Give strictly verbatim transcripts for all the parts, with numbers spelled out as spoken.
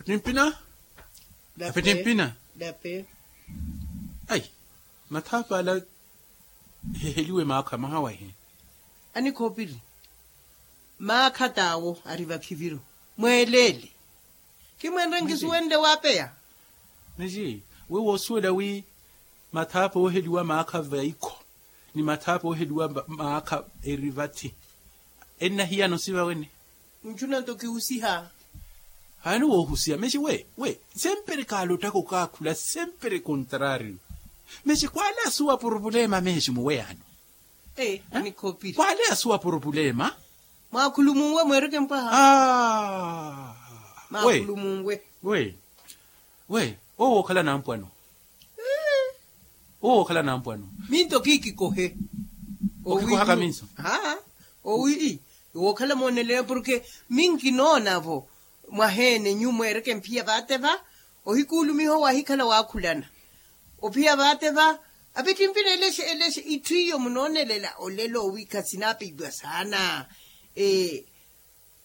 Timpina. Ape timpina. Ayi, mathaapa ala eheheliwe maakha mahawahi. Anikhoopiri, maakha taawo ari vakhiviru mweeleele. Khimwenre nkisuwenle waapeya. Niji, we woosuwela wi mathaapa ooheliwa maakha vaikho ni mathaapa ooheliwa maakha eri vathi, ennahiyana osiva wene. Nchuna nto kihusiha. Haani woohusiha mexi we we, sempere kaalottaka okaakhula sempere kontrario. Mexi kwaale asuwa purupulema mexi muweyano. Kwaale asuwa purupulema. Mwaakhulumunwe mweereke mpwaha. Mwaakhulumunwe. We we, owo wookhala nampwano. Owo wookhala nampwano. Minto kiikikohe. Okikohaka minso. Aa, owi wookhala moonelele porke minkinoonavo mwaheene nyu mweereke mphiya vaate va. Ohikuulumiha owahikhala waakhulana ophiya vaate va. Apittimpina eleshe eleshe itthu iyo munoonelela olelo owiikha sinaapiiwa saana.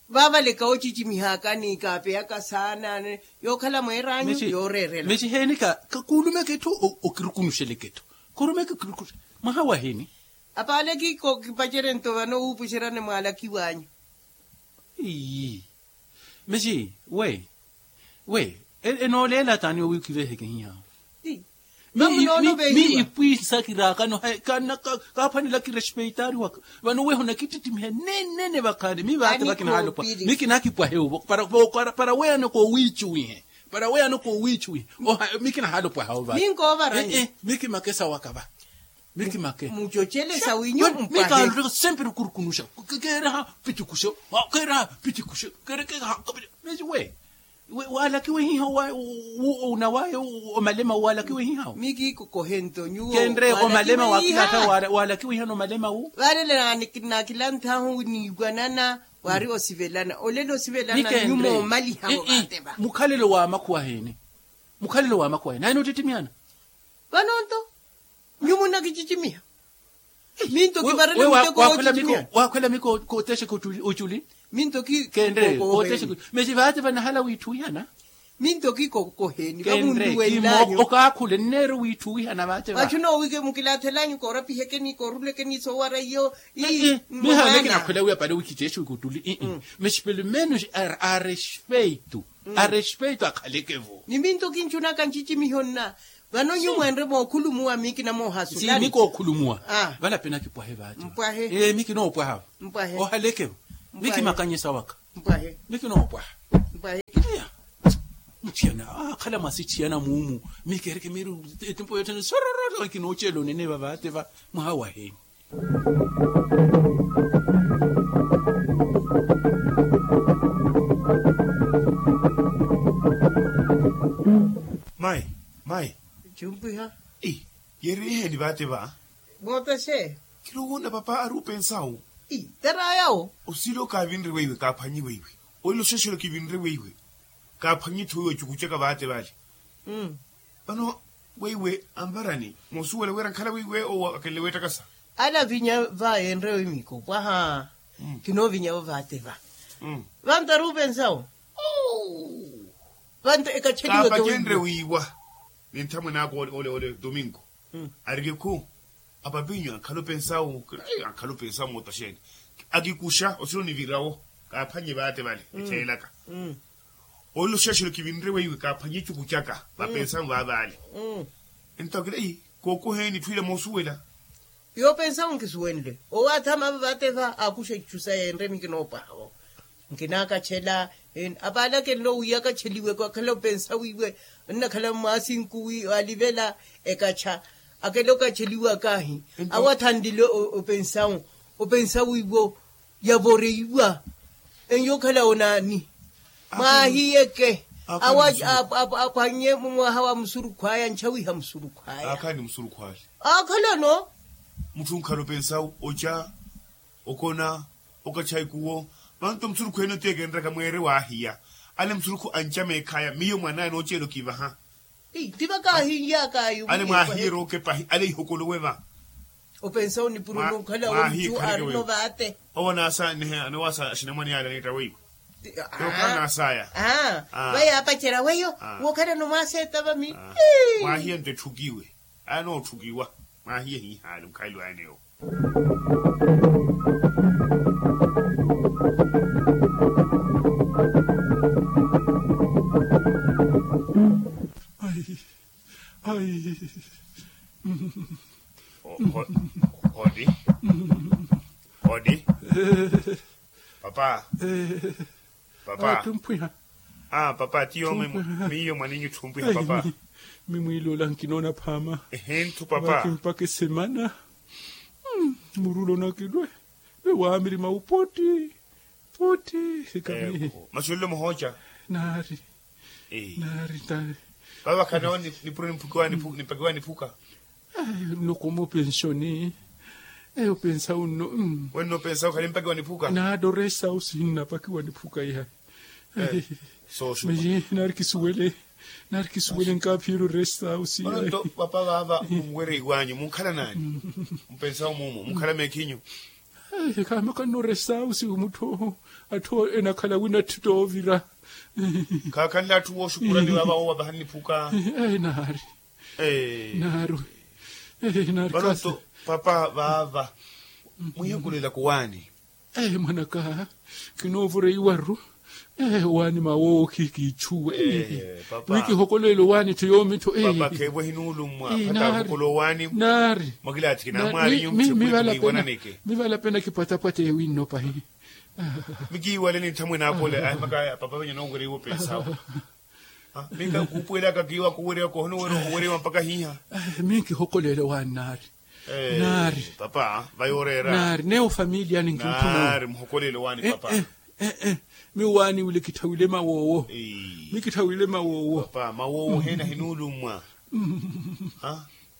Vaavaleka ocicimihaka ni kaapeyaka saana yookhala mweeraanyu yooreerela. Mexi heeni ka kuulumeke etthu okirukunuxeleke etthu. Korumeke okirukunuxeleke mwaha wahiini. Apaale kiiko kipacerento vano wuupuxeryane mwaalakiw'anyu. Mexi we we, enooleela taani owiikiveheke hiyaawo. Mi ipwiisa kiraakano kaaphwanela kirespeitaari waka. Vano weho nakittittimihe nenene vakhaani mi vaate vakinahaalopwaha. Mi kinakipwahe ovo para weyano koowiicuwihe. Para weyano koowiicuwihe. Mi kinahaalopwaha ovo vaate. Mi kimakesa waka va. Mi kimake. Mucocelesa winyu mpwahe. Mikaalottaka sempre okurukunuxa. Keeraha pitikuxe. Keeraha pitikuxe. Kerekeha. Mexi we waalakiwe hiha. Onawaye omalema wu waalakiwe hiha wu. Mi kiikokohe nto nyuwo. Kenre omalema wakilatta waalakiwe hiha nomalema wu. Vale nakilanttahu niiwanana wari osivelana olelo osivelana nyumo omaliha vo vaate va. Mukhalelo wa makhuwa heene. Mukhalelo wa makhuwa heene ayi noottittimiana. Vano nto nyumo nakicicimiha. Minto kivarela muteko wookhwela miko kootexa kutuli. Minto ki kenre kootexa kutuli. Mesi vaate vanahala wiithuwihana. Minto ki kokoheni vamunduwellanyu okaakhule nneero wiithuwihana vaate vachu noowike mukilaathellanyu koorapihekeni koorulekeni soowara iyo. Miha mekinakhwela wiya pale wikitexa kutuli. Mesi pelo menos a respeito. A respeito akhalekevo. Ni minto kinchunaka ncicimiho nna. Vano nyu mwenre mookhulumuwa mi kinamoohasulani. Mikookhulumuwa. Vale ape nakipwahe vaati. Mpwahe. Ee mi kinoopwaha. Mpwahe. Ohalekevo. Mi kimakanyesa waka. Mpwahe. Mi kinoopwaha. Mpwahe. Iya. Muthiyana akhala mwasithiyana muumu. Mi keereke miiri etimpo yothene sorororo kinooceela onene vavaate va mwaha waheni. Mayi. Mayi. Chumpiha. Yeeriheni vaate va. Mootaxe. Kiroowona papa ari opensawu. Tarayawo. Osilo kaavinre weiwe kaaphwanyi weiwe. Oilo xexelo kivinre weiwe. Kaaphwanyi etthu weiwe ocukucaka vaate vale. Vano weiwe anvarani moosuwela wira ankhala weiwe owo akenle weettakasa. Ala avinya va yeenrewe miiko pwaha. Kinoovinyavo vaate va. Vanto ari opensawo. Vanto ekacheliwe kaapacenre wiiwa. Ni nthamwene aka ole ole domingo arikikhu. Apapinyu ankhala opensawu. Ankhala opensawu mootaxeeni. Akikuxa osilo nivirawo. Kaaphwanye vaate vale etheelaka. Oilo xexelo kivinre weiwe kaaphwanye ecuku caka vapensamu vaavaale. Ento akila eyi kookoheeni etthu ila moosuwela. Yoopensamu nkisuwenle owo athama ava vaate va aakuxa itthu sa yeenre mi kinoopwaha vo. Nkinaakachela. Apaale akenle owiya akacheliwe akhala opensawiwe. Onnakhala mmaasinku wi alivela ekacha akele okacheliwa kaahi. Awo athanlile opensawu opensawiwo yavoreiwa. Enyo okhala onaani? Mwaahiyeke. Awo aphwanye mumwaha wa musurukhwaya nchawiha musurukhwaya. Akhala no mutthu onkhala opensawu oca okona okacha ikuwo. Vanto musurukhu ene otekenraka mweere waahiya. Ale musurukhu anca meekhaya miyo mwanaya nooceela okivaha. Ti vakaahinyaka ayo ale mwaahiyeera okepahi ale ihokolowe va. Opensa onipuroni okhala wo mucu arino vaate. Owo naasa nihe anowaasa axinamwane yaale aniitta weiwe. Yokhala nasaya. Vayi apacerya weyo. Wokhalano mwaseeta vami. Mwahiye nto etthukiwe. Aya nootthukiwa. Mwahiye hihaali mukhalelo ayeneyo. Ai. Ai. Odi. Odi. Papa. Papa. Tumphwiha. Papa tiyo. Miyo mwaninyu tumphwiha papa. Mimwiilola nkinoona phaama. Ehe nthu papa. Mpaka esemana. Murulo nakilwe. Vewaamiri maupotti. Potti. Sikami. Masi olelo muhooca. Naari. Naari. Vava khanawo nipuro nimpakiwa niphuka. Nokoma opensioni. Eyo opensa unno. Wenno opensa ukhale mpaki wa niphuka. Naari oresa usi nnapakiwa niphuka ihayi. Naari kisuwele. Naari kisuwele nkaaphiyela oresa usi ihayi. Papa vaava munwereiwanyu munkhala naani? Mupensao mumu munkhala meekhinyu. Khaamaka nno oresa usi mutthu atthu enakhala wina atthita ovira. Khaakhanle atthu wooxukurani vaava woowa pahani niphuka. Naari. Naari. Naari. Papa vaava mwihokolelaka owaani. Mwanaka. Kinoovoreiwaru. Owaani mawowo khikiichuwe. Mikihokolela owaani tho yoomi tho. Papa kheevo hinuulummwa. Naari. Naari. Mwakilaatthi kinamwaari nyunthe kuli mwiwananeke. Mivalapena kipwatapwata ewinno pahi. Mikiiwale ninthamwe naapole ahimakaya papa venye noowereiwa opensawo. Minka kuupuwelaka kiiwa kuweriwa kohono weriwa mpaka hiiha. Minkihokolela owaani naari. Naari. Papa vayoreera naari neyo familiyani nkinkhuna. Naari muhokolela owaani papa. Miwaani wile kitthawile mawoowo. Mikitthawile mawoowo. Papa mawoowo heena hinuulummwa.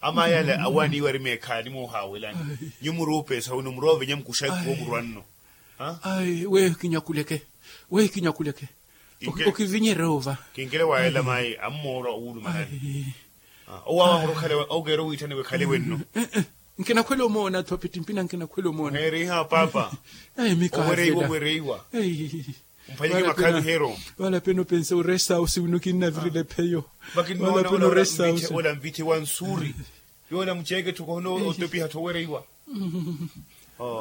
Ama yale awaani iwari meekhaani moohaawelani. Nyu muruupesa wino muroovenya mukuxa ikuwo murwanno. Ayi weyo kinyakuleke. Weyo kinyakuleke. Okivinyerya ova. Kinkele waayela mayi ammoorwa owulumalani. Owawa murukhala okeera owiitthaniwe khale wenno. Nkinakhwela omoona tho pittimpina nkinakhwela omoona. Oheeriha papa. Owereiwa owereiwa. Mphanyeke makhavi hero. Valapena opensa oresa usi wino kinnavirela epheyo. Valapena oresa usi. Ola mvitthe wa nsuuri. Yoola muceeke tho kohono otopiha tho owereiwa.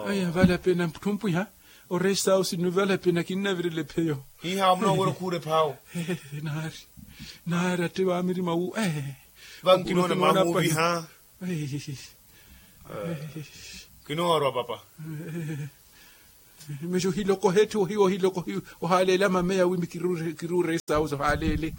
Aya valapena tthumpwiha. Oresa usi nno valapena kinnavirela epheyo. Hiiha munoowera okhuura ephaawo. Naari. Naari atte vaamiri mawu. Vankinoona mahuuviha. Kinoorwa papa. Mixo ohiloko hetthu ohiwa ohiloko ohaaleela mameya wimi kiruuresa usi ohaaleele.